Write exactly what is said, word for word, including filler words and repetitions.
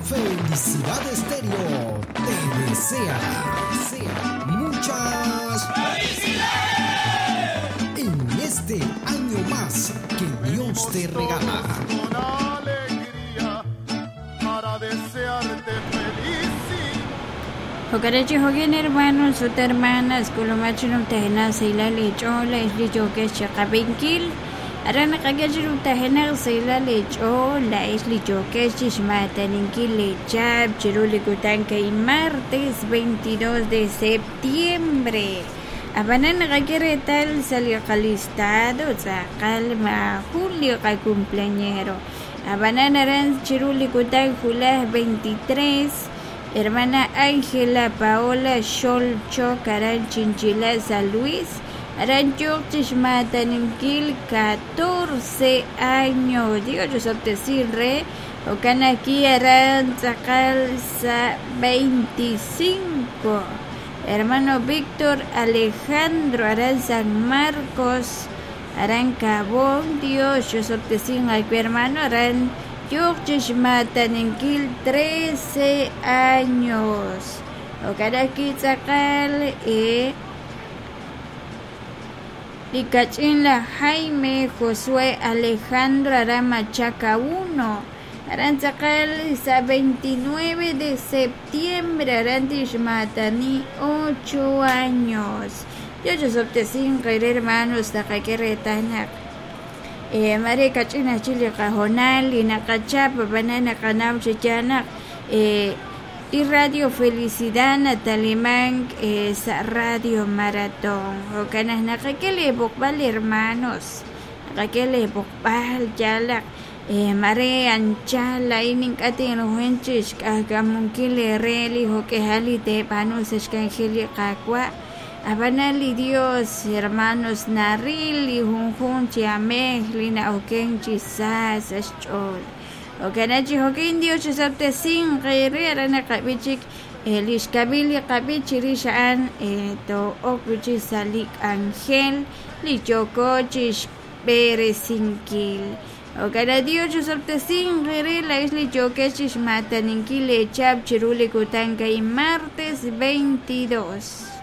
Felicidad Estéreo te desea, desea muchas felicidades en este año más que Dios te regala. Con alegría para desearte felicidad. Jokarachi jokin hermanos ut hermanas kulumachinum tajena sila lech'ola ixli yokex chaqapinkil aran naqak'achirun tajena sila lech'ola ixli yokex chixmataninkil lechap chiruli kutanka y martes veintidós de septiembre. Abanan naqak'eretal saliqalistado tz'aqal ma julio qa cumpleañero. Abanan aran chiruli kutan julaj veintitrés. Hermana Ángela Paola Xolcho Karan Chinchila San Luis Aran Chixmataninkil catorce años. Digo yo re Okanaki Aran tz'aqal sa veinticinco. Hermano Víctor Alejandro Aran San Marcos Aran Cabón Dios yo hermano Aran Yoqchixmataninkil trece años. Okaraki tz'aqal eh Likach'inla Jaime Josué Alejandro Aran Machaca uno. Aran tz'aqal sa veintinueve de septiembre Aran tixmatani ocho años. Yochosoptesin hermanos taqakeretanak. Eh, mare kachina chili qajonal y naqachapa banana qanaw chichanak eh, y Radio Felicidad Natalimán eh, sa Radio Maratón o kanas naqakele bokbal hermanos naqakele bokbal yalaq eh, mare anchala inin k'atin rujenchix k'ajkamunkil reli jok'ejali tepanus xkanjeli qakwa. Abanali Dios, hermanos, narili, junjun, chiamej, lina, oken, chisas, chol. Okanachi, jokin, Dios, chisapte, sin, qiri, arana, qabichik, lishkabili, qabichi, rishaan, to, okuchi, salik, angel, lichokochish, peresinkil. Okana Dios, chisapte, sin, qiri, la isli, chokechish, mataninkil, echap, chiruli, kutanka, y martes veintidós.